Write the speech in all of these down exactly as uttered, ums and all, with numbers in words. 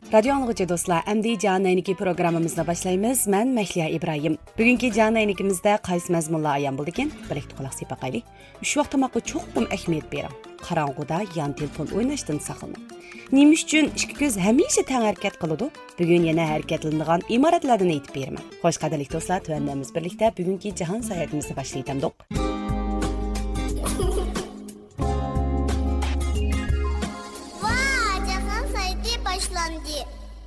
رادىيو ئاڭلىغۇچى دوستلار، ئەمدى جاھان ئەينىكى پروگراممىمىزنى باشلايمىز. مەن مەھلىيا ئىبراھىم. بۈگۈنكى جاھان ئەينىكىمىزدە قايسى مەزمۇنلار ئايان بولىدىكەن؟ بىرلىكتە قۇلاق سېلىپ باقايلى. ئۈچ ۋاق تاماققا چوقۇم ئەھمىيەت بېرىڭ. قاراڭغۇدا يان تېلېفون ئويناشتىن ساقلىنىڭ. نېمە ئۈچۈن ئىككى كۆز ھەمىشە تەڭ ھەرىكەت قىلىدۇ؟ بۈگۈن يەنە ھەرىكەتلىنىدىغان ئىمارەتلەردىن ئېيتىپ بېرىمەن. خوش، قەدىرلىك دوستلار، تۆۋەندە بىز بىرلىكتە بۈگۈنكى جاھان ساياھىتىمىزنى باشلاۋېتەمدۇق. ۋا، جاھان ساياھىتى باشلاندى.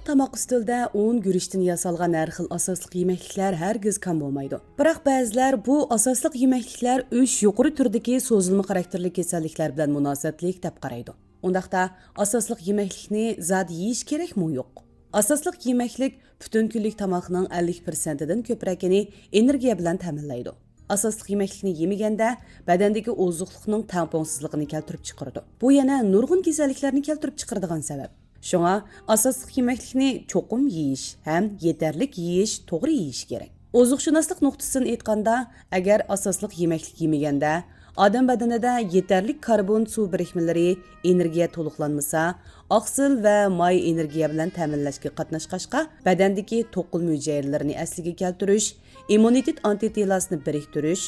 تاماق ئۈستىلىدە ئۇن، گۈرۈچتىن ياسالغان ھەر خىل ئاساسلىق يېمەكلىكلەر ھەرگىز كەم بولمايدۇ. بىراق بەزىلەر بۇ ئاساسلىق يېمەكلىكلەر ئۈچ يۇقىرى تۈردىكى سوزۇلما خاراكتېرلىك كېسەللىكلەر بىلەن مۇناسىۋەتلىك دەپ قارايدۇ. ئۇنداقتا ئاساسلىق يېمەكلىكنى زادى يېيىش كېرەكمۇ يوق؟ ئاساسلىق يېمەكلىك پۈتۈن كۈنلۈك تاماقنىڭ ئەللىك پىرسەنتىدىن كۆپرەكىنى ئېنېرگىيە بىلەن تەمىنلەيدۇ. ئاساسلىق يېمەكلىكنى يېمىگەندە بەدەندىكى ئوزۇقلۇقنىڭ تەڭپۇڭسىزلىقىنى كەلتۈرۈپ چىقىرىدۇ. بۇ يەنە نۇرغۇن كېسەللىكلەرنى كەلتۈرۈپ چىقىرىدىغان سەۋەب. شۇڭا ئاساسلىق يېمەكلىكنى چوقۇم يېيىش ھەم يېتەرلىك يېيىش، توغرا يېيىش كېرەك. ئوزۇقشۇناسلىق نۇقتىسىدىن ئېيتقاندا، ئەگەر ئاساسلىق يېمەكلىك يېمىگەندە ئادەم بەدىنىدە يېتەرلىك كاربون سۇ بىرىكمىلىرى، ئېنېرگىيە تولۇقلانمىسا، ئاقسىل ۋە ماي ئېنېرگىيە بىلەن تەمىنلەشكە قاتناشقاچقا، بەدەندىكى توقۇلما ھۈجەيرىلىرىنى ئەسلىگە كەلتۈرۈش، ئىممۇنىتېت ئانتىتېلاسىنى بىرىكتۈرۈش،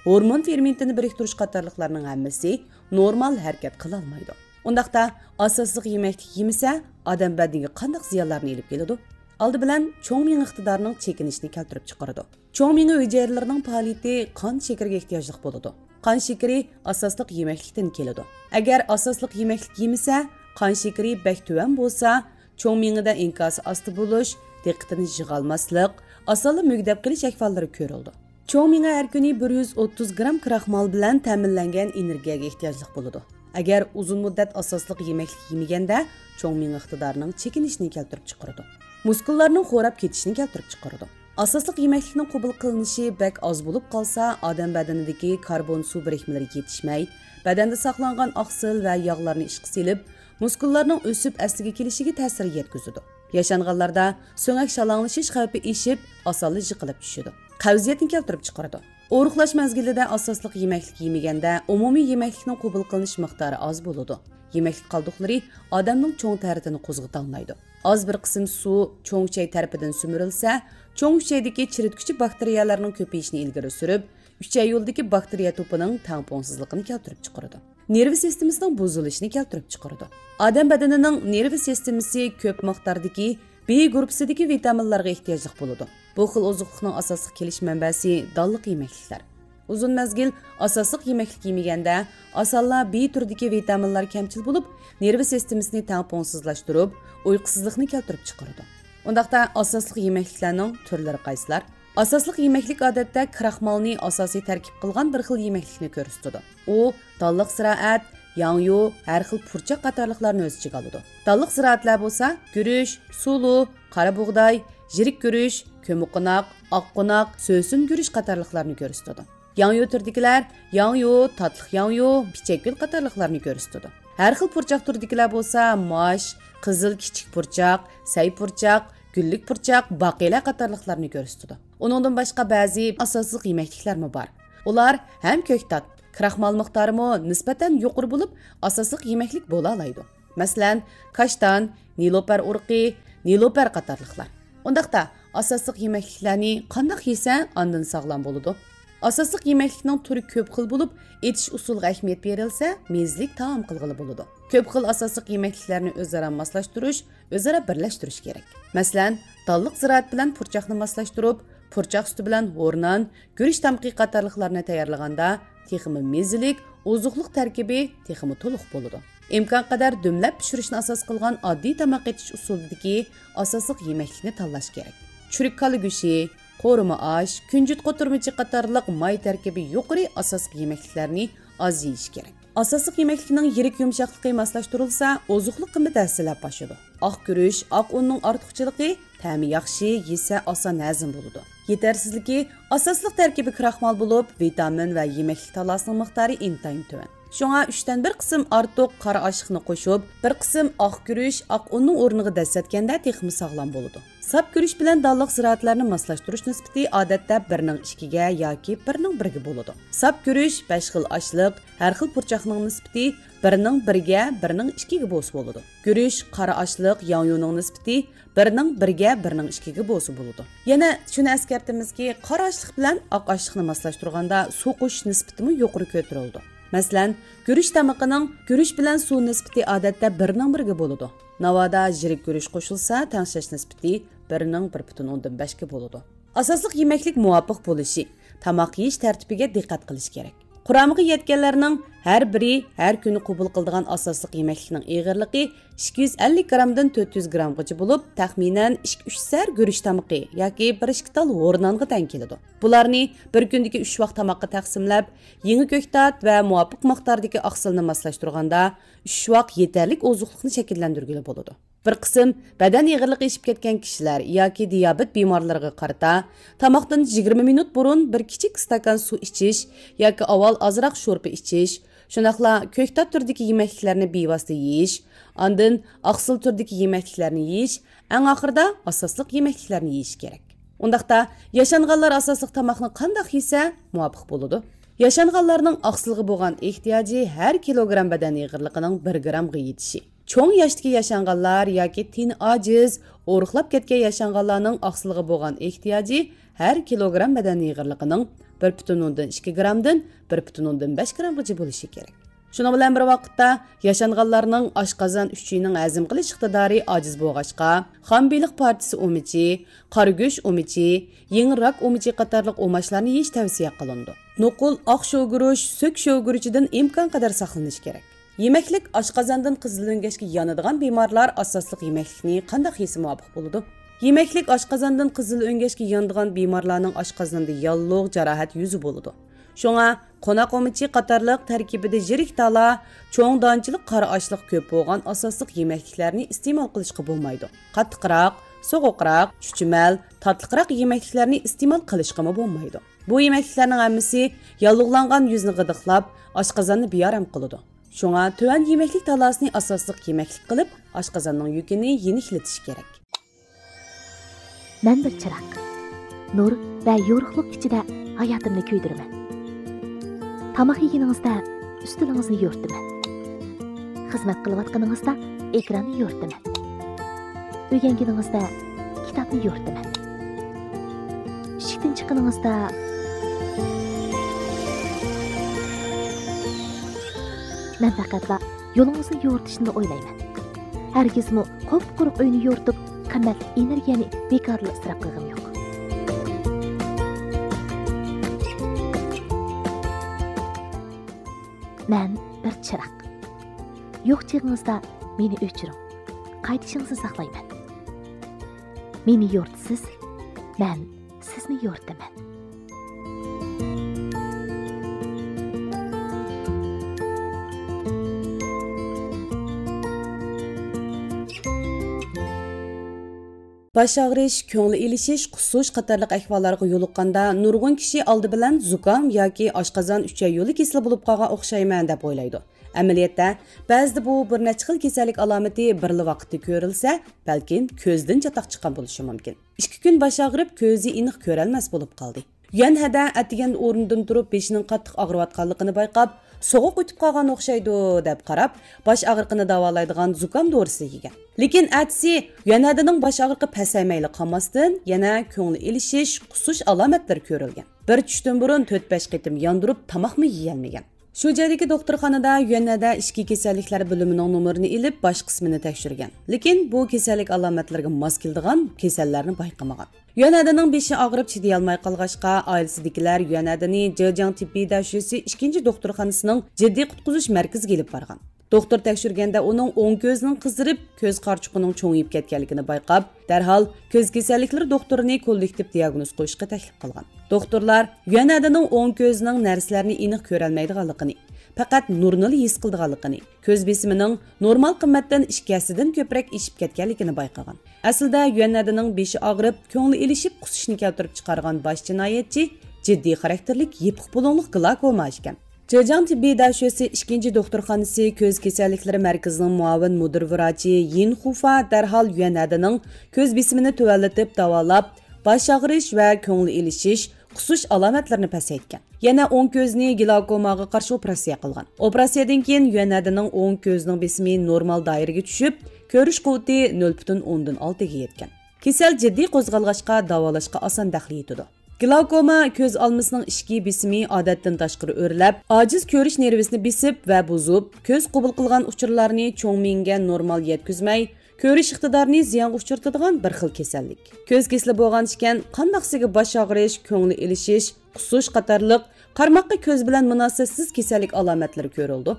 ھورمون فېرمېنتىنى بىرىكتۈرۈش قاتارلىقلارنىڭ ھەممىسى نورمال ھەرىكەت قىلالمايدۇ. ئۇنداقتا ئاساسلىق يېمەكلىك يېمىسە، ئادەم بەدىنىگە قانداق زىيانلارنى ئېلىپ كېلىدۇ؟ ئالدى بىلەن چوڭ مېڭە ئىقتىدارىنىڭ چېكىنىشىنى كەلتۈرۈپ چىقىرىدۇ. چوڭ مېڭە ھۈجەيرىلىرىنىڭ پائالىيىتى قان شېكىرىگە ئېھتىياجلىق بولىدۇ. قان شېكىرى ئاساسلىق يېمەكلىكتىن كېلىدۇ. ئەگەر ئاساسلىق يېمەكلىك يېمىسە، قان شېكىرى بەك تۆۋەن بولسا، چوڭ مېڭىدە ئىنكاسى ئاستا بولۇش، دىققىتىنى يىغالماسلىق، ئاسانلا مۈگدەپ قېلىش ئەھۋاللىرى كۆرۈلىدۇ. چوڭ مېڭە ھەر كۈنى بىر يۈز ئوتتۇز گرام كراخمال بىلەن تەمىنلەنگەن ئېنېرگىيەگە ئېھتىياجلىق بولىدۇ. ئەگەر ئۇزۇن مۇددەت ئاساسلىق يېمەكلىك يېمىگەندە، چوڭ مېڭە ئىقتىدارىنىڭ چېكىنىشىنى كەلتۈرۈپ چىقىرىدۇ. مۇسكۇللارنىڭ خوراپ كېتىشىنى كەلتۈرۈپ چىقىرىدۇ. ئاساسلىق يېمەكلىكنىڭ قوبۇل قىلىنىشى بەك ئاز بولۇپ قالسا، ئادەم بەدىنىدىكى كاربون سۇ بىرىكمىلىرى يېتىشمەي، بەدەندە ساقلانغان ئاقسىل ۋە ياغلارنى ئىشقا سېلىپ، مۇسكۇللارنىڭ ئۆسۈپ ئەسلىگە كېلىشىگە تەسىر يەتكۈزىدۇ. ياشانغانلاردا سۆڭەك شالاڭلىشىش خەۋپى ئېشىپ، ئاسانلا يىقىلىپ چۈشىدۇ. قەۋزىيەتنى كەلتۈرۈپ چىقىرىدۇ. ئورۇقلاش مەزگىلىدە ئاساسلىق يېمەكلىك يېمىگەندە، ئومۇمىي يېمەكلىكنىڭ قوبۇل قىلىنىش مىقدارى ئاز بولىدۇ. يېمەكلىك قالدۇقلىرى ئادەمنىڭ چوڭ تەرىتىنى قوزغىتالمايدۇ. ئاز بىر قىسىم سۇ چوڭ ئۈچەي تەرىپىدىن سۈمۈرۈلسە، چوڭ ئۈچەيدىكى چىرىتكۈچى باكتېرىيەلەرنىڭ كۆپىيىشىنى ئىلگىرى سۈرۈپ، ئۈچەي يولىدىكى باكتېرىيە توپىنىڭ تەڭپۇڭسىزلىقىنى كەلتۈرۈپ چىقىرىدۇ. نېرۋا سىستېمىسىنىڭ بۇزۇلۇشىنى كەلتۈرۈپ چىقىرىدۇ. ئادەم بەدىنىنىڭ نېرۋا سىستېمىسى كۆپ مىقداردىكى بى گۇرۇپپىسىدىكى ۋىتامىنلارغا ئېھتىياجلىق بولىدۇ. بۇ خىل ئوزۇقلۇقنىڭ ئاساسلىق كېلىش مەنبەسى دانلىق يېمەكلىكلەر. ئۇزۇن مەزگىل ئاساسلىق يېمەكلىك يېمىگەندە، ئاسانلا بى تۈرىدىكى ۋىتامىنلار كەمچىل بولۇپ، نېرۋا سىستېمىسىنى تەڭپۇڭسىزلاشتۇرۇپ، ئۇيقۇسىزلىقنى كەلتۈرۈپ چىقىرىدۇ. ئۇنداقتا ئاساسلىق يېمەكلىكلەرنىڭ تۈرلىرى قايسىلار؟ ئاساسلىق يېمەكلىك ئادەتتە كراخمالنى ئاساسىي تەركىب قىلغان بىر خىل يېمەكلىكنى كۆرسىتىدۇ. ئۇ دانلىق زىرائەت، ياڭيۇ، ھەر خىل پۇرچاق قاتارلىقلارنى ئۆز ئىچىگە ئالىدۇ. دانلىق زىرائەتلەر بولسا گۈرۈچ، سۇلۇ، قارا بۇغداي، يىرىك گۈرۈچ، كۆممىقوناق، ئاققوناق، سۆسۈن گۈرۈچ قاتارلىقلارنى كۆرسىتىدۇ. ياڭيۇ تۈرىدىكىلەر ياڭيۇ، تاتلىق ياڭيۇ، پىچەكگۈل قاتارلىقلارنى كۆرسىتىدۇ. ھەر خىل پۇرچاق تۈرىدىكىلەر بولسا ماش، قىزىل كىچىك پۇرچاق، سەي پۇرچاق، گۈللۈك پۇرچاق، باقىلە قاتارلىقلارنى كۆرسىتىدۇ. ئۇنىڭدىن باشقا بەزى ئاساسلىق يېمەكلىكلەرمۇ بار. ئۇلار ھەم كۆكتات، كراخمال مىقدارىمۇ نىسبەتەن يۇقىرى بولۇپ، ئاساسلىق يېمەكلىك بولالايدۇ. مەسىلەن، كاشتان، نېلۇپەر ئۇرۇقى، نېلۇپەر قاتارلىقلار. ئۇنداقتا، ئاساسلىق يېمەكلىكلەرنى قانداق يېسە، ئاندىن ساغلام بولىدۇ؟ ئاساسلىق يېمەكلىكنىڭ تۈرى كۆپ خىل بولۇپ، ئېتىش ئۇسۇلىغا ئەھمىيەت بېرىلسە، مېزىلىك تائام قىلغىلى بولىدۇ. كۆپ خىل ئاساسلىق يېمەكلىكلەرنى ئۆزئارا ماسلاشتۇرۇش، ئۆزئارا بىرلەشتۈرۈش كېرەك. مەسىلەن، دانلىق زىرائەت بىلەن پۇرچاقنى ماسلاشتۇرۇپ، پۇرچاق سۈتى بىلەن ھورنان، گۈرۈچ تامىقى قاتارلىقلارنى تەييارلىغاندا، تېخىمۇ مېزىلىك، ئوزۇقلۇق تەركىبى تېخىمۇ تولۇق بولىدۇ. ئىمكانقەدەر دۈملەپ پىشۇرۇشنى ئاساس قىلغان ئاددىي تاماق ئېتىش ئۇسۇلىدىكى ئاساسلىق يېمەكلىكنى تاللاش كېرەك. چۈرۈك كالا گۆشى، قورۇما ئاش، كۈنجۈت قوتۇرمىچى قاتارلىق ماي تەركىبى يۇقىرى ئاساسلىق يېمەكلىكلەرنى ئاز يېيىش كېرەك. ئاساسلىق يېمەكلىكنىڭ يىرىك يۇمشاقلىقى ماسلاشتۇرۇلسا، ئوزۇقلۇق قىممىتى ھەسسىلەپ ئاشىدۇ. ئاق گۈرۈچ، ئاق ئۇننىڭ ئارتۇقچىلىقى، تەمى ياخشى، يېسە ئاسان ھەزىم بولىدۇ. يېتەرسىزلىكى، ئاساسلىق تەركىبى كراخمال بولۇپ، ۋىتامىن ۋە يېمەكلىك تاللاسىنىڭ مىقدارى ئىنتايىن تۆۋەن. شۇڭا ئۈچتىن بىر قىسىم ئارتۇق قارا ئاشلىقنى قوشۇپ، بىر قىسىم ئاق گۈرۈچ، ئاق ئۇننىڭ ئورنىغا دەسسەتكەندە تېخىمۇ ساغلام بولىدۇ. ساپ گۈرۈچ بىلەن دانلىق زىرائەتلەرنى ماسلاشتۇرۇش نىسبىتى ئادەتتە بىرنىڭ ئىككىگە ياكى بىرنىڭ بىرگە بولىدۇ. ساپ گۈرۈچ بەش خىل ئاشلىق، ھەر خىل پۇرچاقنىڭ نىسبىتى بىرنىڭ بىرگە، بىرنىڭ ئىككىگە بولسا بولىدۇ. گۈرۈچ، قارا ئاشلىق، ياڭيۇنىڭ نىسبىتى بىرنىڭ بىرگە، بىرنىڭ ئىككىگە بولسا بولىدۇ. يەنە شۇنى ئەسكەرتىمىزكى، قارا ئاشلىق بىلەن ئاق ئاشلىقنى ماسلاشتۇرغاندا سۇ قوشۇش نىسبىتىمۇ يۇقىرى كۆتۈرۈلىدۇ. مەسىلەن، گۈرۈچ تامىقىنىڭ گۈرۈچ بىلەن سۇ نىسبىتى ئادەتتە بىرنىڭ بىرگە بولىدۇ. ناۋادا يىرىك گۈرۈچ قوشۇلسا، تەڭشەش نىسبىتى بىرنىڭ بىر پۈتۈن ئوندىن بەشكە بولىدۇ. ئاساسلىق يېمەكلىك مۇۋاپىق بولۇشى، تاماق يېيىش تەرتىپىگە دىققەت قىلىش كېرەك. قۇرامىغا يەتكەنلەرنىڭ ھەر بىرى ھەر كۈنى قوبۇل قىلىدىغان ئاساسلىق يېمەكلىكنىڭ ئېغىرلىقى ئىككى يۈز ئەللىك گرامدىن تۆت يۈز گرامغىچە بولۇپ، تەخمىنەن ئىككى ئۈچ سەر گۈرۈچ تامىقى ياكى بىر ئىككى تال ھورۇن نانغا تەڭ كېلىدۇ. بۇلارنى بىر كۈندىكى ئۈچ ۋاق تاماققا تەقسىملەپ، يېڭى كۆكتات ۋە مۇۋاپىق مىقداردىكى ئاقسىلنى ماسلاشتۇرغاندا، ئۈچ ۋاق يېتەرلىك ئوزۇقلۇقنى شەكىللەندۈرگىلى بولىدۇ. بىر قىسىم بەدەن ئېغىرلىقى ئېشىپ كەتكەن كىشىلەر ياكى دىيابېت بىمارلىرىغا قارىتا، تاماقتىن يىگىرمە مىنۇت بۇرۇن بىر كىچىك ئىستاكان سۇ ئىچىش ياكى ئاۋۋال ئازراق شورپا ئىچىش، شۇنداقلا كۆكتات تۈرىدىكى يېمەكلىكلەرنى بىۋاسىتە يېيىش، ئاندىن ئاقسىل تۈرىدىكى يېمەكلىكلەرنى يېيىش، ئەڭ ئاخىرىدا ئاساسلىق يېمەكلىكلەرنى يېيىش كېرەك. ئۇنداقتا، ياشانغانلار ئاساسلىق تاماقنى قانداق يېسە مۇۋاپىق بولىدۇ؟ ياشانغانلارنىڭ ئاقسىلغا بولغان ئېھتىياجى ھەر كىلوگرام بەدەن ئېغىرلىقىنىڭ بىر گرامغا يېتىشى. چوڭ ياشتىكى ياشانغانلار ياكى تېنى ئاجىز، ئورۇقلاپ كەتكەن ياشانغانلارنىڭ ئاقسىلغا بولغان ئېھتىياجى ھەر كىلوگرام بەدەن ئېغىرلىقىنىڭ بىر پۈتۈن ئوندىن ئىككى گرامدىن بىر پۈتۈن ئوندىن بەش گرامغىچە بولۇشى كېرەك. شۇنىڭ بىلەن بىر ۋاقىتتا، ياشانغانلارنىڭ ئاشقازان ئۈچىيىنىڭ ھەزىم قىلىش ئىقتىدارى ئاجىز بولغاچقا، خام بېلىق پارچىسى ئۇمىچى، قارا گۆش ئۇمىچى، يېڭى راك ئۇمىچى قاتارلىق ئۇماچلارنى يېيىش تەۋسىيە قىلىنىدۇ. نوقۇل، ئاق شوۋىگۈرۈچ، سۆك شوۋىگۈرۈچىدىن ئىمكانقەدەر ساقلىنىش كېرەك. يېمەكلىك ئاشقازاندىن قىزىل ئۆڭگەچكە يانىدىغان بىمارلار ئاساسلىق يېمەكلىكنى قانداق يېسە مۇۋاپىق بولىدۇ؟ يېمەكلىك ئاشقازاندىن قىزىل ئۆڭگەچكە يانىدىغان بىمارلارنىڭ ئاشقازىنىدا ياللۇغ، جاراھەت يۈزى بولىدۇ. شۇڭا، قوناق ئۇمىچى قاتارلىق تەركىبىدە يىرىك تالا، چوڭ دانچىلىق قارا ئاشلىق كۆپ بولغان ئاساسلىق يېمەكلىكلەرنى ئىستېمال قىلىشقا بولمايدۇ. قاتتىقراق، سوغۇقراق، چۈچۈمەل، تاتلىقراق يېمەكلىكلەرنى ئىستېمال قىلىشقىمۇ بولمايدۇ. بۇ يېمەكلىكلەرنىڭ ھەممىسى ياللۇغلانغان يۈزنى غىدىقلاپ، ئاشقازاننى بىئارام قىلىدۇ. شۇڭا تۆۋەن يېمەكلىك تالاسىنى ئاساسلىق يېمەكلىك قىلىپ، ئاشقازاننىڭ يۈكىنى يېنىكلىتىش كېرەك. مەن بىر چىراغ. نۇر ۋە يورۇقلۇق ئىچىدە ھاياتىمنى كۆيدۈرىمەن. تاماق يېگىنىڭىزدە ئۈستىلىڭىزنى يورۇتىمەن. خىزمەت قىلىۋاتقىنىڭىزدا ئېكراننى يورۇتىمەن. ئۆگەنگىنىڭىزدە كىتابنى يورۇتىمەن. ئىشىكتىن چىققىنىڭىزدا مەن پەقەتلا يولىڭىزنى يورۇتۇشنىلا ئويلايمەن. ھەرگىزمۇ قۇپقۇرۇق ئۆينى يورۇتۇپ، قىممەتلىك ئېنېرگىيەنى بىكارلا ئىسراپ قىلغىنىم يوق. مەن بىر چىراغ. يوق چېغىڭىزدا مېنى ئۆچۈرۈڭ. قايتىشىڭىزنى ساقلايمەن. مېنى يورۇتىسىز، مەن سىزنى يورۇتىمەن. باش ئاغرىش، كۆڭۈل ئېلىشىش، قۇسۇش قاتارلىق ئەھۋاللارغا يولۇققاندا، نۇرغۇن كىشى ئالدى بىلەن زۇكام ياكى ئاشقازان ئۈچەي يولى كېسىلى بولۇپ قالغان ئوخشايمەن دەپ ئويلايدۇ. ئەمەلىيەتتە، بەزىدە بۇ بىر نەچچە خىل كېسەللىك ئالامىتى بىرلا ۋاقىتتا كۆرۈلسە، بەلكىم كۆزدىن چاتاق چىققان بولۇشى مۇمكىن. ئىككى كۈن باش ئاغرىپ، كۆزى ئېنىق كۆرەلمەس بولۇپ قالدى. يۈەنھەدە ئەتىگەندە ئورنىدىن تۇرۇپ، بېشىنىڭ قاتتىق ئاغرىۋاتقانلىقىنى بايقاپ، سوغۇق ئۆتۈپ قالغان ئوخشايدۇ، دەپ قاراپ، باش ئاغرىقىنى داۋالايدىغان زۇكام دورىسى يېگەن. لېكىن ئەتىسى يۈەنھەدىنىڭ باش ئاغرىقى پەسەيمەيلا قالماستىن، يەنە كۆڭلى ئېلىشىش، قۇسۇش ئالامەتلىرى كۆرۈلگەن. بىر چۈشتىن بۇرۇن تۆت-بەش قېتىم ياندۇرۇپ، تاماقمۇ يېيەلمىگەن. شۇ جايدىكى دوختۇرخانىدا يۈەنھەدە ئىچكى كېسەللىكلەر بۆلۈمىنىڭ نومۇرىنى ئېلىپ، باش قىسمىنى تەكشۈرگەن. لېكىن بۇ كېسەللىك ئالامەتلىرىگە ماس كېلىدىغان كېسەللەرنى بايقىمىغان. يۈەنھەدىنىڭ بېشى ئاغرىپ چىدىيالماي قالغاچقا، ئائىلىسىدىكىلەر يۈەنھەدىنى جېجياڭ تېببىي دەشۈسى ئىككىنچى دوختۇرخانىسىنىڭ جىددىي قۇتقۇزۇش مەركىزىگە ئېلىپ بارغان. دوختۇر تەكشۈرگەندە ئۇنىڭ ئوڭ كۆزىنىڭ قىزىرىپ، كۆز قارىچۇقىنىڭ چوڭىيىپ كەتكەنلىكىنى بايقاپ، دەرھال كۆز كېسەللىكلىرى دوختۇرىنى كوللېكتىپ دىياگنوز قويۇشقا تەكلىپ قىلغان. دوختۇرلار يۈەنھەدىنىڭ ئوڭ كۆزىنىڭ نەرسىلەرنى ئېنىق كۆرەلمەيدىغانلىقىنى، پەقەت نۇرنىلا ھېس قىلىدىغانلىقىنى، كۆز بېسىمىنىڭ نورمال قىممەتتىن ئىككى ھەسسىدىن كۆپرەك ئېشىپ كەتكەنلىكىنى بايقىغان. ئەسلىدە يۈەنھەدىنىڭ بېشى ئاغرىپ، كۆڭلى ئېلىشىپ، قۇسۇشنى كەلتۈرۈپ چىقارغان باش جىنايەتچى جىددىي خاراكتېرلىك يېپىق بۇلۇڭلۇق گلاكوما ئىكەن. جېجياڭ تېببىي دەشۆسى ئىككىنچى دوختۇرخانىسى كۆز كېسەللىكلىرى مەركىزىنىڭ مۇئاۋىن مۇدىر ۋراچى يىن خۇفا دەرھال يۈەنئەدىنىڭ كۆز بېسىمىنى تۆۋەنلىتىپ داۋالاپ، باش ئاغرىش ۋە كۆڭۈل ئېلىشىش، قۇسۇش ئالامەتلىرىنى پەسەيتكەن. يەنە ئوڭ كۆزىنى گلاوكوماغا قارشى ئوپېراتسىيە قىلغان. ئوپېراتسىيەدىن كېيىن يۈەنئەدىنىڭ ئوڭ كۆزىنىڭ بېسىمى نورمال دائىرىگە چۈشۈپ، كۆرۈش قۇۋۋىتى نۆل پۈتۈن ئوندىن ئالتىگە يەتكەن. كېسەل جىددىي قوزغالغاچقا، داۋالاشقا ئاسان دەخلى يېتىدۇ. گلاوكوما كۆز ئالمىسىنىڭ ئىچكى بېسىمى ئادەتتىن تاشقىرى ئۆرلەپ، ئاجىز كۆرۈش نېرۋىسىنى بېسىپ ۋە بۇزۇپ، كۆز قوبۇل قىلغان ئۇچۇرلارنى چوڭ مېڭىگە نورمال يەتكۈزمەي، كۆرۈش ئىقتىدارىنى زىيانغا ئۇچرىتىدىغان بىر خىل كېسەللىك. كۆز كېسىلى بولغانىكەن، قانداقسىگە باش ئاغرىش، كۆڭلى ئېلىشىش، قۇسۇش قاتارلىق قارىماققا كۆز بىلەن مۇناسىۋەتسىز كېسەللىك ئالامەتلىرى كۆرۈلىدۇ.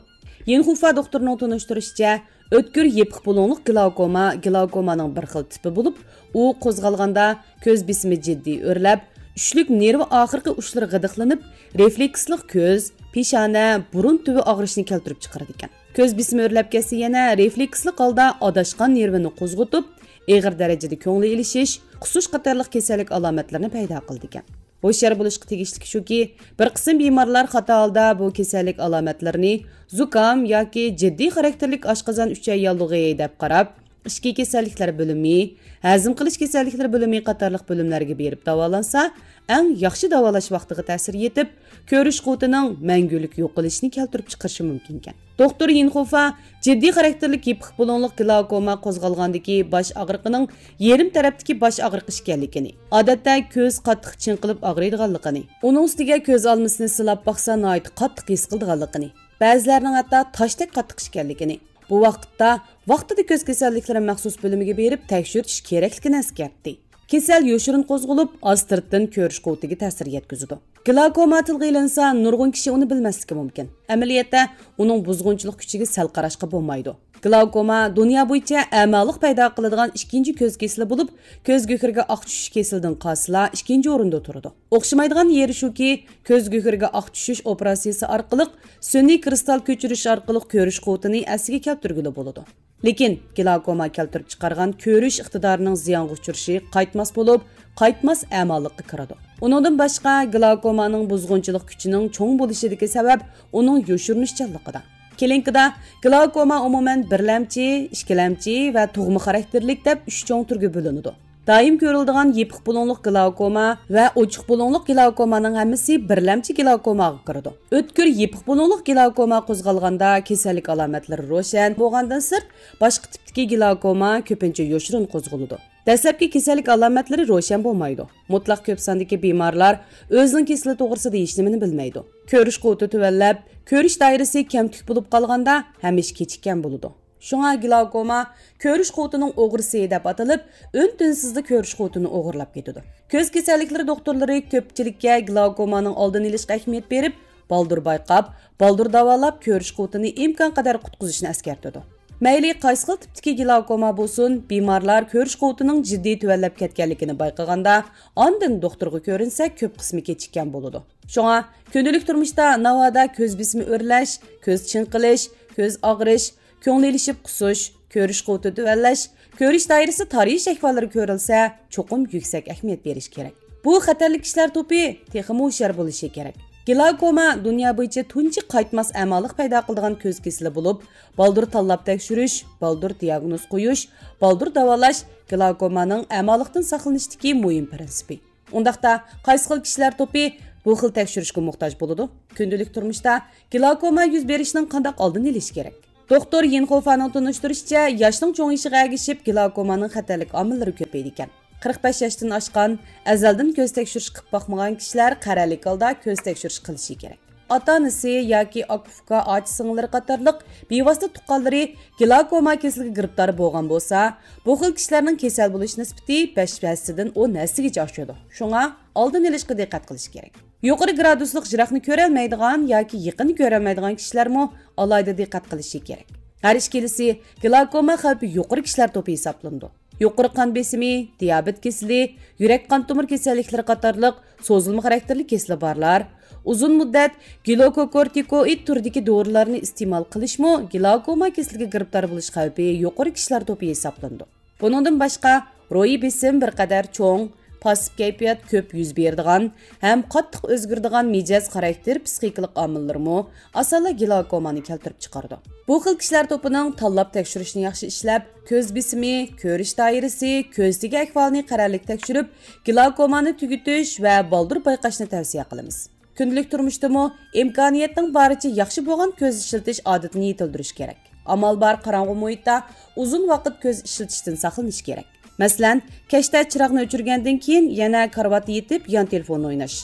يىنخۇفا دوختۇرىنىڭ تونۇشتۇرۇشىچە، ئۆتكۈر يېپىق بۇلۇڭلۇق گلاوكوما گلاوكومانىڭ بىر خىل تىپى بولۇپ، ئۇ قوزغالغاندا كۆز بېسىمى جىددىي ئۆرلەپ، ئۈچلۈك نېرۋا ئاخىرقى ئۇچلىرى غىدىقلىنىپ، رېفلېكسلىق كۆز، پېشانە، بۇرۇن تۈۋى ئاغرىشنى كەلتۈرۈپ چىقىرىدىكەن. كۆز بېسىمى ئۆرلەپ كەتسە يەنە رېفلېكسلىق ھالدا ئاداشقان نېرۋىنى قوزغىتىپ، ئېغىر دەرىجىدە كۆڭلى ئېلىشىش، قۇسۇش قاتارلىق كېسەللىك ئالامەتلىرىنى پەيدا قىلىدىكەن. ھوشيار بولۇشقا تېگىشلىك شۇكى، بىر قىسىم بىمارلار خاتا ھالدا بۇ كېسەللىك ئالامەتلىرىنى زۇكام ياكى جىددىي خاراكتېرلىك ئاشقازان ئۈچەي ياللۇغى دەپ قاراپ، ئىچكى كېسەللىكلەر بۆلۈمى، ھەزىم قىلىش كېسەللىكلىرى بۆلۈمى قاتارلىق بۆلۈملەرگە بېرىپ داۋالانسا، ئەڭ ياخشى داۋالاش ۋاقتىغا تەسىر يېتىپ، كۆرۈش قۇۋۋىتىنىڭ مەڭگۈلۈك يوقىلىشىنى كەلتۈرۈپ چىقىرىشى مۇمكىنكەن. دوختۇر يىنخوفا جىددىي خاراكتېرلىك يېپىق بۇلۇڭلۇق گلاوكوما قوزغالغاندىكى باش ئاغرىقىنىڭ يېرىم تەرەپتىكى باش ئاغرىق ئىكەنلىكىنى، ئادەتتە كۆز قاتتىق چىڭقىلىپ ئاغرىيدىغانلىقىنى، ئۇنىڭ ئۈستىگە كۆز ئالمىسىنى سىلاپ باقسا ناھايىتى قاتتىق ھېس قىلىدىغانلىقىنى، بەزىلەرنىڭ ھەتتا تاشتەك قاتتىق ئىكەنلىكىنى، بۇ ۋاقىتتا ۋاقتىدا كۆز كېسەللىكلىرى مەخسۇس بۆلۈمىگە بېرىپ تەكشۈرتۈش كېرەكلىكىنى ئەسكەرتتى. كېسەل يوشۇرۇن قوزغىلىپ، ئاستىرتتىن كۆرۈش قۇۋۋىتىگە تەسىر يەتكۈزىدۇ. گلاوكوما تىلغا ئېلىنسا، نۇرغۇن كىشى ئۇنى بىلمەسلىكى مۇمكىن. ئەمەلىيەتتە، ئۇنىڭ بۇزغۇنچىلىق كۈچىگە سەل قاراشقا بولمايدۇ. گلاوكوما دۇنيا بويىچە ئەمالىق پەيدا قىلىدىغان ئىككىنچى كۆز كېسىلى بولۇپ، كۆز گۆھىرىگە ئاق چۈشۈش كېسىلىدىن قالسىلا ئىككىنچى ئورۇندا تۇرىدۇ. ئوخشىمايدىغان يېرى شۇكى، كۆز گۆھىرىگە ئاق چۈشۈش ئوپېراتسىيىسى ئارقىلىق سۈنئىي كىرىستال كۆچۈرۈش ئارقىلىق كۆرۈش قۇۋۋىتىنى ئەسلىگە كەلتۈرگىلى بولىدۇ. لېكىن گلاوكوما كەلتۈرۈپ چىقارغان كۆرۈش ئىقتىدارىنىڭ زىيانغا ئۇچرىشى قايتماس بولۇپ، قايتماس ئەمالىققا كىرىدۇ. ئۇنىڭدىن باشقا، گلاوكومانىڭ بۇزغۇنچىلىق كۈچىنىڭ چوڭ بولۇشىدىكى سەۋەب ئۇنىڭ يوشۇرۇنۇشچانلىقىدا. كلىنىكىدا گلاوكوما ئومۇمەن بىرلەمچى، ئىككىلەمچى ۋە تۇغما خاراكتېرلىك دەپ ئۈچ چوڭ تۈرگە بۆلۈنىدۇ. دائىم كۆرۈلىدىغان يېپىق بۇلۇڭلۇق گلاوكوما ۋە ئوچۇق بۇلۇڭلۇق گلاوكومانىڭ ھەممىسى بىرلەمچى گلاوكوماغا كىرىدۇ. ئۆتكۈر يېپىق بۇلۇڭلۇق گلاوكوما قوزغالغاندا كېسەللىك ئالامەتلىرى روشەن بولغاندىن سىرت، باشقا تىپتىكى گلاوكوما كۆپىنچە يوشۇرۇن قوزغىلىدۇ. دەسلەپكى كېسەللىك ئالامەتلىرى روشەن بولمايدۇ. مۇتلەق كۆپ ساندىكى بىمارلار ئۆزىنىڭ كېسىلى توغرىسىدا ھېچنېمىنى بىلمەيدۇ. كۆرۈش قۇۋۋىتى تۆۋەنلەپ، كۆرۈش دائىرىسى كەمتۈك بولۇپ قالغاندا ھەمىشە كېچىككەن بولىدۇ. شۇڭا گلاوكوما كۆرۈش قۇۋۋىتىنىڭ ئوغرىسى دەپ ئاتىلىپ، ئۈن-تىنسىزلا كۆرۈش قۇۋۋىتىنى ئوغرىلاپ كېتىدۇ. كۆز كېسەللىكلىرى دوختۇرلىرى كۆپچىلىككە گلاوكومانىڭ ئالدىنى ئېلىشقا ئەھمىيەت بېرىپ، بالدۇر بايقاپ، بالدۇر داۋالاپ، كۆرۈش قۇۋۋىتىنى ئىمكانقەدەر قۇتقۇزۇشنى ئەسكەرتىدۇ. مەيلى قايسى خىل تىپتىكى گلاوكوما بولسۇن، بىمارلار كۆرۈش قۇۋۋىتىنىڭ جىددىي تۆۋەنلەپ كەتكەنلىكىنى بايقىغاندا، ئاندىن دوختۇرغا كۆرۈنسە، كۆپ قىسمى كېچىككەن بولىدۇ. شۇڭا، كۈندىلىك تۇرمۇشتا ناۋادا كۆز بېسىمى ئۆرلەش، كۆز چىڭقىلىش، كۆز ئاغرىش، كۆڭۈل ئېلىشىپ قۇسۇش، كۆرۈش قۇۋۋىتى تۆۋەنلەش، كۆرۈش دائىرىسى تارىيىش ئەھۋاللىرى كۆرۈلسە، چوقۇم يۈكسەك ئەھمىيەت بېرىش كېرەك. بۇ خەتەرلىك كىشىلەر توپى تېخىمۇ ھوشيار بولۇشى كېرەك. گلاوكوما دۇنيا بويىچە تۇنجى قايتماس ئەمالىق پەيدا قىلىدىغان كۆز كېسىلى بولۇپ، بالدۇر تاللاپ تەكشۈرۈش، بالدۇر دىياگنوز قويۇش، بالدۇر داۋالاش گلاوكومانىڭ ئەمالىقتىن ساقلىنىشتىكى مۇھىم پىرىنسىپى. ئۇنداقتا، قايسى خىل كىشىلەر توپى بۇ خىل تەكشۈرۈشكە موھتاج بولىدۇ؟ كۈندىلىك تۇرمۇشتا گلاوكوما يۈز بېرىشنىڭ قانداق ئالدىنى ئېلىش كېرەك؟ دوختۇر يىنخوفانىڭ تونۇشتۇرۇشىچە، ياشنىڭ چوڭىيىشىغا ئەگىشىپ گلاوكومانىڭ خەتەرلىك ئامىللىرى كۆپىيىدىكەن. قىرىق بەش ياشتىن ئاشقان، ئەزەلدىن كۆز تەكشۈرۈش قىلىپ باقمىغان كىشىلەر قەرەللىك ھالدا كۆز تەكشۈرۈش قىلىشى كېرەك. ئاتا-ئانىسى ياكى ئاكا-ئۇكا، ئاچا-سىڭىللىرى قاتارلىق بىۋاسىتە تۇغقانلىرى گلاوكوما كېسىلىگە گىرىپتار بولغان بولسا، بۇ خىل كىشىلەرنىڭ كېسەل بولۇش نىسبىتى بەش ھەسسىدىن ئون ھەسسىگىچە ئاشىدۇ. شۇڭا ئالدىنى ئېلىشقا دىققەت قىلىش كېرەك. يۇقىرى گرادۇسلۇق يىراقنى كۆرەلمەيدىغان ياكى يېقىننى كۆرەلمەيدىغان كىشىلەرمۇ ئالاھىدە دىققەت قىلىشى كېرەك. ھەر ئىككىلىسى گلاوكوما خەۋپى يۇقىرى كىشىلەر توپى ھېسابلىنىدۇ. يۇقىرى قان بېسىمى، دىيابېت كېسىلى، يۈرەك قان تومۇر كېسەللىكلىرى قاتارلىق سوزۇلما خاراكتېرلىك كېسىلى بارلار، ئۇزۇن مۇددەت گلوكوكورتىكوئىد تۈرىدىكى دورىلارنى ئىستېمال قىلىشمۇ گلاوكوما كېسىلىگە گىرىپتار بولۇش خەۋپى يۇقىرى كىشىلەر توپى ھېسابلىنىدۇ. بۇنىڭدىن باشقا، روھىي بېسىم بىر قەدەر چوڭ، پاسسىپ كەيپىيات كۆپ يۈز بېرىدىغان ھەم قاتتىق ئۆزگىرىدىغان مىجەز خاراكتېر پسىخىكىلىق ئامىللىرىمۇ ئاسانلا گلاكومانى كەلتۈرۈپ چىقىرىدۇ. بۇ خىل كىشىلەر توپىنىڭ تاللاپ تەكشۈرۈشنى ياخشى ئىشلەپ، كۆز بېسىمى، كۆرۈش دائىرىسى، كۆز تېگى ئەھۋالىنى قەرەللىك تەكشۈرۈپ، گلاكومانى تۈگىتىش ۋە بالدۇر بايقاشنى تەۋسىيە قىلىمىز. كۈندىلىك تۇرمۇشتىمۇ ئىمكانىيەتنىڭ بارىچە ياخشى بولغان كۆز ئىشلىتىش ئادىتىنى يېتىلدۈرۈش كېرەك. ئامال بار قاراڭغۇ مۇھىتتا ئۇزۇن ۋاقىت كۆز ئىشلىتىشتىن ساقلىنىش كېرەك. مەسىلەن، كەچتە چىراغنى ئۆچۈرگەندىن كېيىن يەنە كارىۋاتتا يېتىپ يان تېلېفون ئويناش.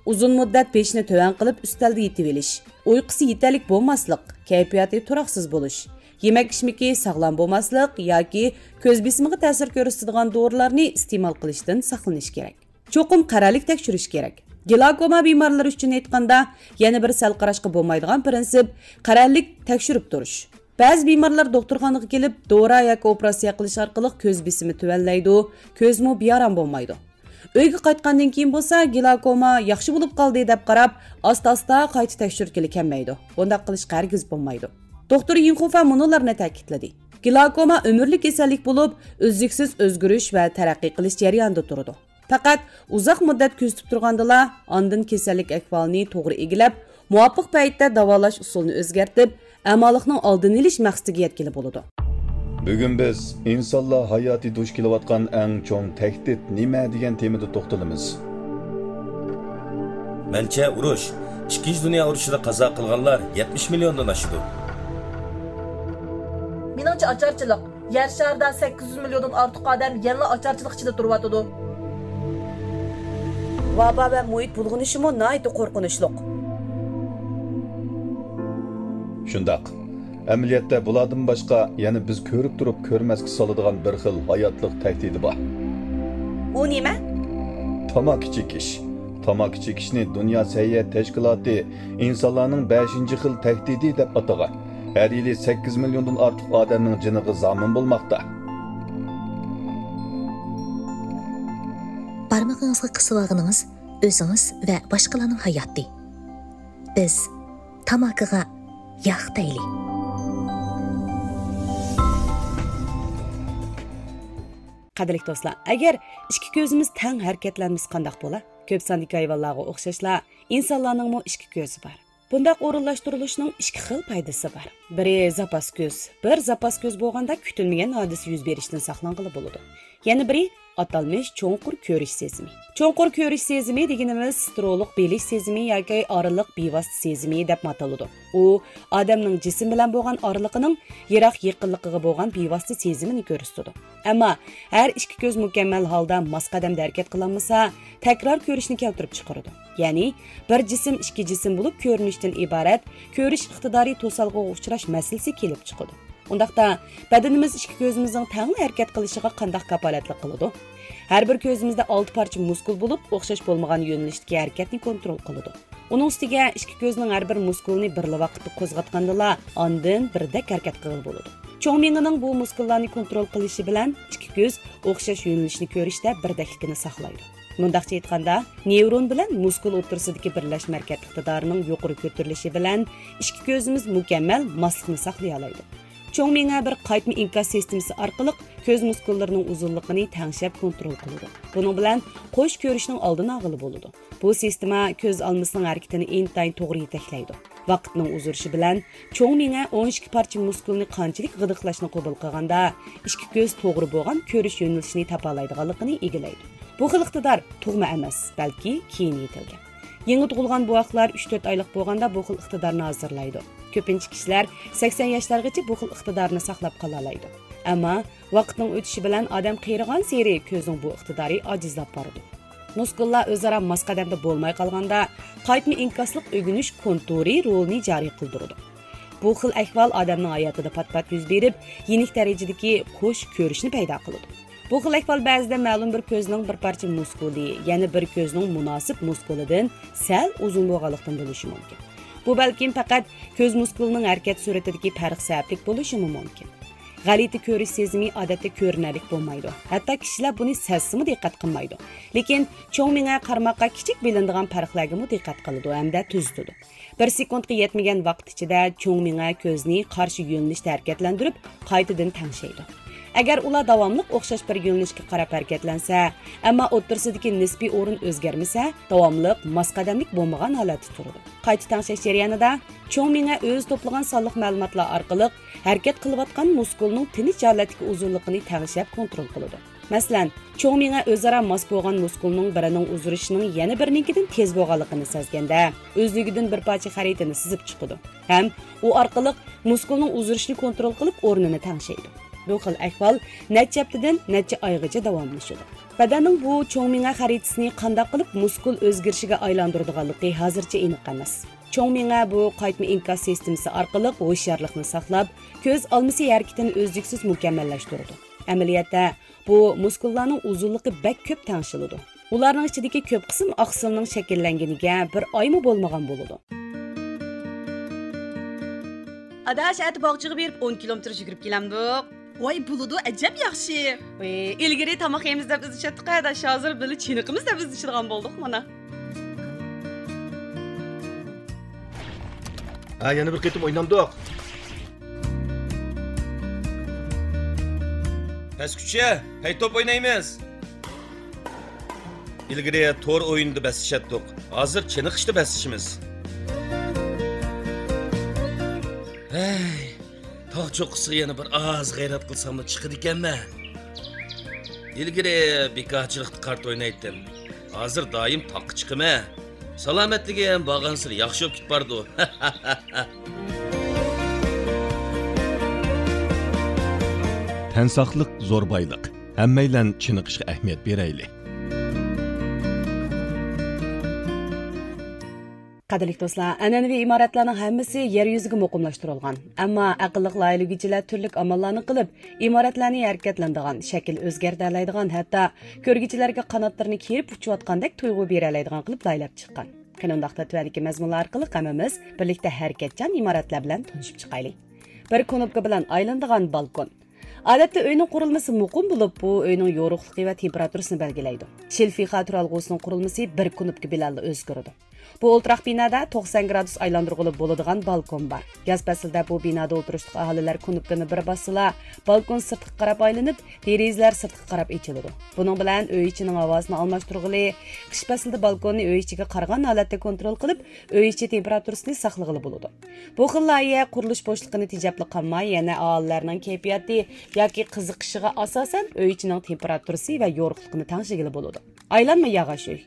ئۇزۇن مۇددەت بېشىنى تۆۋەن قىلىپ ئۈستەلدە يېتىۋېلىش. ئۇيقۇسى يېتەرلىك بولماسلىق، كەيپىياتى تۇراقسىز بولۇش. يېمەك-ئىچمىكى ساغلام بولماسلىق ياكى كۆز بېسىمىغا تەسىر كۆرسىتىدىغان دورىلارنى ئىستېمال قىلىشتىن ساقلىنىش كېرەك. چوقۇم قەرەللىك تەكشۈرۈش كېرەك. گلاكوما بىمارلىرى ئۈچۈن ئېيتقاندا، يەنە بىر سەل قاراشقا بولمايدىغان پىرىنسىپ، قەرەللىك تەكشۈرۈپ تۇرۇش. بەزى بىمارلار دوختۇرخانىغا كېلىپ، دورا ياكى ئوپېراتسىيە قىلىش ئارقىلىق كۆز بېسىمى تۆۋەنلەيدۇ، كۆزمۇ بىئارام بولمايدۇ. ئۆيگە قايتقاندىن كېيىن بولسا، گلاكوما ياخشى بولۇپ قالدى دەپ قاراپ، ئاستا-ئاستا قايتا تەكشۈرتكىلى كەلمەيدۇ. بۇنداق قىلىشقا ھەرگىز بولمايدۇ. دوختۇر يىڭخۇفا مۇنۇلارنى تەكىتلىدى: گلاكوما ئۆمۈرلۈك كېسەللىك بولۇپ، ئۈزلۈكسىز ئۆزگىرىش ۋە تەرەققىي قىلىش جەريانىدا تۇرىدۇ. پەقەت ئۇزاق مۇددەت كۆزىتىپ تۇرغاندىلا، ئاندىن كېسەللىك ئەھۋالىنى توغرا ئىگىلەپ، مۇۋاپىق پەيتتە داۋالاش ئۇسۇلىنى ئۆزگەرتىپ، ئەمالىقنىڭ ئالدىنى ئېلىش مەقسىتىگە يەتكىلى بولىدۇ. بۈگۈن بىز ئىنسانلار ھاياتى دۇچ كېلىۋاتقان ئەڭ چوڭ تەھدىت نېمە دېگەن تېمىدا توختىلىمىز. مەنچە، ئۇرۇش، ئىككىنچى دۇنيا ئۇرۇشىدا قازا قىلغانلار يەتمىش مىليوندىن ئاشىدۇ. مېنىڭچە، ئاچارچىلىق. يەر شارىدا سەككىز يۈز مىليوندىن ئارتۇق ئادەم يەنىلا ئاچارچىلىق ئىچىدە تۇرۇۋاتىدۇ. ۋابا ۋە مۇھىت بۇلغىنىشىمۇ ناھايىتى قورقۇنچلۇق. شۇنداق. ئەمەلىيەتتە بۇلاردىن باشقا يەنە بىز كۆرۈپ تۇرۇپ كۆرمەسكە سالىدىغان بىر خىل ھاياتلىق تەھدىتى بار. ئۇ نېمە؟ تاماكا چېكىش. تاماكا چېكىشنى دۇنيا سەھىيە تەشكىلاتى ئىنسانلارنىڭ بەشىنچى خىل تەھدىتى دەپ ئاتىغان. ھەر يىلى سەككىز مىليوندىن ئارتۇق ئادەمنىڭ جېنىغا زامىن بولماقتا. بارمىقىڭىزغا قىسىۋالغىنىڭىز ئۆزىڭىز ۋە باشقىلارنىڭ ھاياتى. بىز تاماكىغا ياق دەيلى. قەدىرلىك دوستلار، ئەگەر ئىككى كۆزىمىز تەڭ ھەرىكەتلەنمىسە قانداق بولا؟ كۆپ ساندىكى ھايۋانلارغا ئوخشاشلا، ئىنسانلارنىڭمۇ ئىككى كۆزى بار. بۇنداق ئورۇنلاشتۇرۇلۇشنىڭ ئىككى خىل پايدىسى بار. بىرى زاپاس كۆز. بىر زاپاس كۆز بولغاندا كۈتۈلمىگەن ھادىسە يۈز بېرىشتىن ساقلانغىلى بولىدۇ. يەنە بىرى ئاتالمىش چوڭقۇر كۆرۈش سېزىمى. چوڭقۇر كۆرۈش سېزىمى دېگىنىمىز سترولۇق بىلىش سېزىمى ياكى ئارىلىق بىۋاسىتە سېزىمى دەپمۇ ئاتىلىدۇ. ئۇ ئادەمنىڭ جىسىم بىلەن بولغان ئارىلىقىنىڭ يىراق يېقىنلىقىغا بولغان بىۋاسىتە سېزىمىنى كۆرسىتىدۇ. ئەمما ھەر ئىككى كۆز مۇكەممەل ھالدا ماس قەدەمدە ھەرىكەت قىلالمىسا، تەكرار كۆرۈشنى كەلتۈرۈپ چىقىرىدۇ. يەنى بىر جىسىم ئىككى جىسىم بولۇپ كۆرۈنۈشتىن ئىبارەت كۆرۈش ئىقتىدارى توسالغۇغا ئۇچراش مەسىلىسى كېلىپ چىقىدۇ. ئۇنداقتا، بەدىنىمىز ئىككى كۆزىمىزنىڭ تەڭلا ھەرىكەت قىلىشىغا قانداق كاپالەتلىك قىلىدۇ؟ ھەر بىر كۆزىمىزدە ئالتە پارچە مۇسكۇل بولۇپ، ئوخشاش بولمىغان يۆنىلىشتىكى ھەرىكەتنى كونترول قىلىدۇ. ئۇنىڭ ئۈستىگە ئىككى كۆزنىڭ ھەر بىر مۇسكۇلىنى بىرلا ۋاقىتتا قوزغاتقاندىلا، ئاندىن بىردەك ھەرىكەت قىلغىلى بولىدۇ. چوڭ مېڭىنىڭ بۇ مۇسكۇللارنى كونترول قىلىشى بىلەن ئىككى كۆز ئوخشاش يۆنىلىشنى كۆرۈشتە بىردەكلىكىنى ساقلايدۇ. مۇنداقچە ئېيتقاندا، نېۋرون بىلەن مۇسكۇل ئوتتۇرىسىدىكى بىرلەشمە ھەرىكەتلىك ئىقتىدارىنىڭ يۇقىرى كۆتۈرۈلۈشى بىلەن ئىككى كۆزىمىز مۇكەممەل ماسلىقنى ساقلىيالايدۇ. چوڭ مېڭە بىر قايتما ئىنكاس سىستېمىسى ئارقىلىق كۆز مۇسكۇللىرىنىڭ ئۇزۇنلۇقىنى تەڭشەپ كونترول قىلىدۇ. بۇنىڭ بىلەن قوش كۆرۈشنىڭ ئالدىنى ئالغىلى بولىدۇ. بۇ سىستېما كۆز ئالمىسىنىڭ ھەرىكىتىنى ئىنتايىن توغرا يېتەكلەيدۇ. ۋاقىتنىڭ ئۇزىرىشى بىلەن چوڭ مېڭە ئون ئىككى پارچە مۇسكۇلنى قانچىلىك غىدىقلاشنى قوبۇل قىلغاندا، ئىككى كۆز توغرا بولغان كۆرۈش يۆنىلىشىنى تاپالايدىغانلىقىنى ئىگىلەيدۇ. بۇ خىل ئىقتىدار تۇغما ئەمەس، بەلكى كېيىن يېتىلگەن. يېڭى تۇغۇلغان بوۋاقلار ئۈچ تۆت ئايلىق بولغاندا بۇ خىل ئىقتىدارنى ھازىرلايدۇ. كۆپىنچە كىشىلەر سەكسەن ياشلارغىچە بۇ خىل ئىقتىدارنى ساقلاپ قالالايدۇ. ئەمما ۋاقىتنىڭ ئۆتۈشى بىلەن ئادەم قېرىغانسېرى كۆزنىڭ بۇ ئىقتىدارى ئاجىزلاپ بارىدۇ. مۇسكۇللار ئۆزئارا ماس قەدەمدە بولماي قالغاندا، قايتما ئىنكاسلىق ئۆگىنىش كونتۇرى رولىنى جارى قىلدۇرىدۇ. بۇ خىل ئەھۋال ئادەمنىڭ ھاياتىدا پات-پات يۈز بېرىپ، يېنىك دەرىجىدىكى قوش كۆرۈشنى پەيدا قىلىدۇ. بۇ خىل ئەھۋال بەزىدە مەلۇم بىر كۆزنىڭ بىر پارچە مۇسكۇلى، يەنە بىر كۆزنىڭ مۇناسىپ مۇسكۇلىدىن سەل ئۇزۇن بولغانلىقتىن بولۇشى مۇمكىن. بۇ بەلكىم پەقەت كۆز مۇسكۇلىنىڭ ھەرىكەت سۈرئىتىدىكى پەرق سەۋەبلىك بولۇشىمۇ مۇمكىن. غەلىتە كۆرۈش سېزىمى ئادەتتە كۆرۈنەرلىك بولمايدۇ. ھەتتا كىشىلەر بۇنى سەزسىمۇ دىققەت قىلمايدۇ. لېكىن چوڭ مېڭە قارىماققا كىچىك بىلىنىدىغان پەرقلەرگىمۇ دىققەت قىلىدۇ ھەمدە تۈزىتىدۇ. بىر سېكۇنتقا يەتمىگەن ۋاقىت ئىچىدە چوڭ مېڭە كۆزنى قارشى يۆنىلىشتە ھەرىكەتلەندۈرۈپ، قايتىدىن تەڭشەيدۇ. ئەگەر ئۇلار داۋاملىق ئوخشاش بىر يۆنىلىشكە قاراپ ھەرىكەتلەنسە، ئەمما ئوتتۇرىسىدىكى نىسپىي ئورۇن ئۆزگەرمىسە، داۋاملىق ماس قەدەملىك بولمىغان ھالەتتە تۇرىدۇ. قايتا تەڭشەش جەريانىدا چوڭ مېڭە ئۆزى توپلىغان سانلىق مەلۇماتلار ئارقىلىق ھەرىكەت قىلىۋاتقان مۇسكۇلنىڭ تىنچ ھالەتتىكى ئۇزۇنلۇقىنى تەڭشەپ كونترول قىلىدۇ. مەسىلەن، چوڭ مېڭە ئۆزئارا ماس بولغان مۇسكۇلنىڭ بىرىنىڭ ئۇزىرىشىنىڭ يەنە بىرىنىڭكىدىن تېز بولغانلىقىنى سەزگەندە، ئۆزلۈكىدىن بىر پارچە خەرىتىنى سىزىپ چىقىدۇ ھەم ئۇ ئارقىلىق مۇسكۇلنىڭ ئۇزىرىشىنى كونترول قىلىپ، ئورنىنى تەڭشەيدۇ. بۇ خىل ئەھۋال نەچچە ھەپتىدىن نەچچە ئايغىچە داۋاملىشىدۇ. بەدەننىڭ بۇ چوڭ مېڭە خەرىتىسىنى قانداق قىلىپ مۇسكۇل ئۆزگىرىشىگە ئايلاندۇرىدىغانلىقى ھازىرچە ئېنىق ئەمەس. چوڭ مېڭە بۇ قايتما ئىنكاس سىستېمىسى ئارقىلىق ھوشيارلىقنى ساقلاپ، كۆز ئالمىسى ھەرىكىتىنى ئۈزلۈكسىز مۇكەممەللەشتۈرىدۇ. ئەمەلىيەتتە، بۇ مۇسكۇللارنىڭ ئۇزۇنلۇقى بەك كۆپ تەڭشىلىدۇ. ئۇلارنىڭ ئىچىدىكى كۆپ قىسىم ئاقسىلنىڭ شەكىللەنگىنىگە بىر ئايمۇ بولمىغان بولىدۇ. ئاداش، ئەتە باغچىغا بېرىپ ئون كىلومېتىر يۈگۈرۈپ كېلەمدۇق. ۋاي، بولىدۇ، ئەجەب ياخشى. ۋاي، ئىلگىرى تاماق يەيمىز دەپ ئىزدىشەتتۇق ئاداش، ھازىر بىللە چېنىقىمىز دەپ ئىزدىشىدىغان بولدۇق مانا. ھە، يەنە بىر قېتىم ئوينامدۇق؟ پەسكۈچە، پەيتوپ ئوينايمىز. ئىلگىرى تور ئويۇنىدا بەسلىشەتتۇق، ھازىر چېنىقىشتا بەسلىشىمىز. ھەي، تاغ چوققىسىغا يەنە بىر ئاز غەيرەت قىلساملا چىقىدىكەنمەن. ئىلگىرى بىكارچىلىقتا قارت ئوينايتتىم، ھازىر دائىم تاغقا چىقىمەن. سالامەتلىكىم بارغانسېرى ياخشى بولۇپ كېتىپ بارىدۇ. تەن ساقلىق زور بايلىق. ھەممەيلەن چېنىقىشقا ئەھمىيەت بېرەيلى. قەدىرلىك دوستلار، ئەنئەنىۋى ئىمارەتلەرنىڭ ھەممىسى يەر يۈزىگە مۇقىملاشتۇرۇلغان. ئەمما ئەقىللىق لايىھىلىگۈچىلەر تۈرلۈك ئاماللارنى قىلىپ، ئىمارەتلەرنى ھەرىكەتلىنىدىغان، شەكىل ئۆزگەرتەلەيدىغان، ھەتتا كۆرگۈچىلەرگە قاناتلىرىنى كېرىپ ئۇچۇۋاتقاندەك تۇيغۇ بېرەلەيدىغان قىلىپ لايىھىلەپ چىققان. قېنى ئۇنداقتا تۆۋەندىكى مەزمۇنلار ئارقىلىق ھەممىمىز بىرلىكتە ھەرىكەتچان ئىمارەتلەر بىلەن تونۇشۇپ چىقايلى. بىر كۇنۇپكا بىلەن ئايلىنىدىغان بالكون. ئادەتتە ئۆينىڭ قۇرۇلمىسى مۇقىم بولۇپ، بۇ ئۆينىڭ يورۇقلۇقى ۋە تېمپېراتۇرىسىنى بەلگىلەيدۇ. شىلفىخا تۇرالغۇسىنىڭ قۇرۇلمىسى بىر كۇنۇپكا بىلەنلا ئۆزگىرىدۇ. بۇ ئولتۇراق بىنادا توقسان گرادۇس ئايلاندۇرغىلى بولىدىغان بالكون بار. ياز پەسلىدە بۇ بىنادا ئولتۇرۇشلۇق ئاھالىلەر كۇنۇپكىنى بىر باسسىلا، بالكون سىرتقا قاراپ ئايلىنىپ، دېرىزىلەر سىرتقا قاراپ ئېچىلىدۇ. بۇنىڭ بىلەن ئۆي ئىچىنىڭ ھاۋاسىنى ئالماشتۇرغىلى، قىش پەسلىدە بالكوننى ئۆي ئىچىگە قارىغان ھالەتتە كونترول قىلىپ، ئۆي ئىچى تېمپېراتۇرىسىنى ساقلىغىلى بولىدۇ. بۇ خىل لايىھە قۇرۇلۇش بوشلۇقىنى تېجەپلا قالماي، يەنە ئاھالىلەرنىڭ كەيپىياتى ياكى قىزىقىشىغا ئاساسەن ئۆي ئىچىنىڭ تېمپېراتۇرىسى ۋە يورۇقلۇقىنى تەڭشىگىلى بولىدۇ. ئايلانما ياغاچ ئۆي.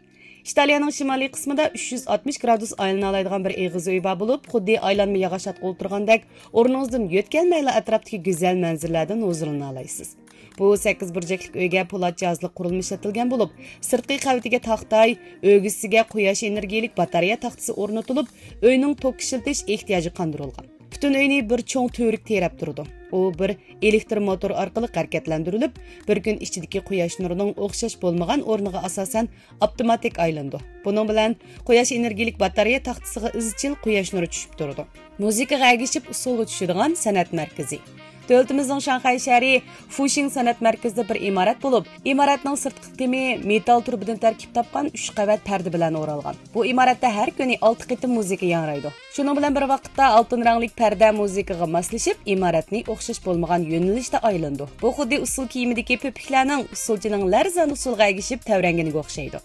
ئىتالىيەنىڭ شىمالىي قىسمىدا ئۈچ يۈز ئاتمىش گرادۇس ئايلىنالايدىغان بىر ئېغىز ئۆي بار بولۇپ، خۇددى ئايلانما ياغاچ ئاتقا ئولتۇرغاندەك، ئورنىڭىزدىن يۆتكەلمەيلا ئەتراپتىكى گۈزەل مەنزىرىلەردىن ھۇزۇرلىنالايسىز. بۇ سەككىز بۇرجەكلىك ئۆيگە پولات جاھازلىق قۇرۇلما ئىشلىتىلگەن بولۇپ، سىرتقى قەۋىتىگە تاختاي، ئۆگزىسىگە قۇياش ئېنېرگىيىلىك باتارېيە تاختىسى ئورنىتىلىپ، ئۆينىڭ توك ئىشلىتىش ئېھتىياجى قاندۇرۇلغان. پۈتۈن ئۆينى بىر چوڭ تۈۋرۈك تىرەپ تۇرىدۇ. ئۇ بىر ئېلېكتر موتور ئارقىلىق ھەرىكەتلەندۈرۈلۈپ، بىر كۈن ئىچىدىكى قۇياش نۇرىنىڭ ئوخشاش بولمىغان ئورنىغا ئاساسەن ئاپتوماتىك ئايلىنىدۇ. بۇنىڭ بىلەن قۇياش ئېنېرگىيىلىك باتارېيە تاختىسىغا ئىزچىل قۇياش نۇرى چۈشۈپ تۇرىدۇ. مۇزىكىغا ئەگىشىپ ئۇسسۇلغا چۈشىدىغان سەنئەت مەركىزى. دۆلىتىمىزنىڭ شاڭخەي شەھىرى فۇشىڭ سەنئەت مەركىزىدە بىر ئىمارەت بولۇپ، ئىمارەتنىڭ سىرتقى تېمى مېتال تۇربىدىن تەركىب تاپقان ئۈچ قەۋەت پەردە بىلەن ئورالغان. بۇ ئىمارەتتە ھەر كۈنى ئالتە قېتىم مۇزىكا ياڭرايدۇ. شۇنىڭ بىلەن بىر ۋاقىتتا، ئالتۇن رەڭلىك پەردە مۇزىكىغا ماسلىشىپ، ئىمارەتنى ئوخشاش بولمىغان يۆنىلىشتە ئايلىنىدۇ. بۇ خۇددى ئۇسسۇل كىيىمىدىكى پۆپۈكلەرنىڭ ئۇسسۇلچىنىڭ لەرزان ئۇسسۇلىغا ئەگىشىپ تەۋرەنگىنىگە ئوخشايدۇ.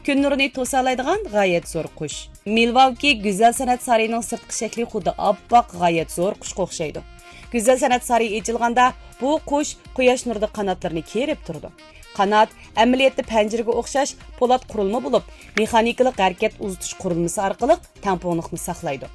كۈن نۇرىنى توسالايدىغان غايەت زور قۇش. مىلۋاكى گۈزەل سەنئەت سارىيىنىڭ سىرتقى شەكلى خۇددى ئاپئاق، غايەت زور قۇشقا ئوخشايدۇ. گۈزەل سەنئەت سارىيى ئېچىلغاندا، بۇ قۇش قۇياش نۇرىدا قاناتلىرىنى كېرىپ تۇرىدۇ. قانات ئەمەلىيەتتە پەنجىرىگە ئوخشاش پولات قۇرۇلما بولۇپ، مېخانىكىلىق ھەرىكەت ئۇزىتىش قۇرۇلمىسى ئارقىلىق تەڭپۇڭلۇقنى ساقلايدۇ.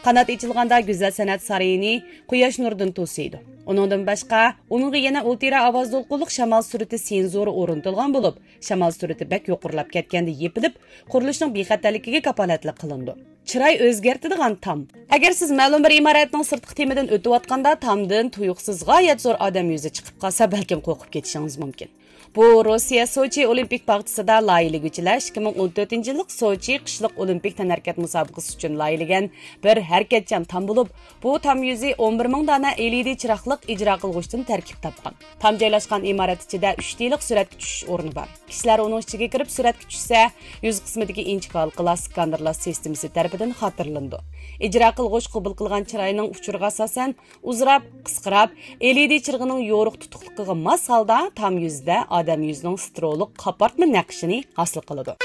قانات ئېچىلغاندا گۈزەل سەنئەت سارىيىنى قۇياش نۇرىدىن توسىيدۇ. ئۇنىڭدىن باشقا، ئۇنىڭغا يەنە ئۇلترا ئاۋاز دولقۇنلۇق شامال سۈرئىتى سېنزورى ئورنىتىلغان بولۇپ، شامال سۈرئىتى بەك يۇقىرىلاپ كەتكەندە يېپىلىپ، قۇرۇلۇشنىڭ بىخەتەرلىكىگە كاپالەتلىك قىلىنىدۇ. چىراي ئۆزگەرتىدىغان تام. ئەگەر سىز مەلۇم بىر ئىمارەتنىڭ سىرتقى تېمىدىن ئۆتۈۋاتقاندا تامدىن تۇيۇقسىز غايەت زور ئادەم يۈزى چىقىپ قالسا، بەلكىم قورقۇپ كېتىشىڭىز مۇمكىن. بۇ روسىيە سوچى ئولىمپىك باغچىسىدا لايىھىلىگۈچىلەر ئىككى مىڭ ئون تۆتىنچى يىللىق سوچى قىشلىق ئولىمپىك تەنھەرىكەت مۇسابىقىسى ئۈچۈن لايىھىلىگەن بىر ھەرىكەتچان تام بولۇپ، بۇ تام يۈزى ئون بىر مىڭ دانە ئېلئىدى چىراغلىق ئىجرا قىلغۇچتىن تەركىب تاپقان. تام جايلاشقان ئىمارەت ئىچىدە ئۈچ دېلىق سۈرەتكە چۈشۈش ئورنى بار. كىشىلەر ئۇنىڭ ئىچىگە كىرىپ سۈرەتكە چۈشسە، يۈز قىسمىدىكى ئىنچىكە ھالقىلار سكانېرلاش سىستېمىسى تەرىپىدىن دىن خاتىرىلىنىدۇ. ئىجرا قىلغۇچ قوبۇل قىلغان چىراينىڭ ئۇچۇرىغا ئاساسەن، ئۇزىراپ، قىسقىراپ، ئېلئىدى چىرىغىنىڭ يورۇق تۇتۇقلۇقىغا ماس ھالدا تام يۈزىدە ئادەم يۈزىنىڭ سترولۇق قاپارتما نەقىشىنى ھاسىل قىلىدۇ.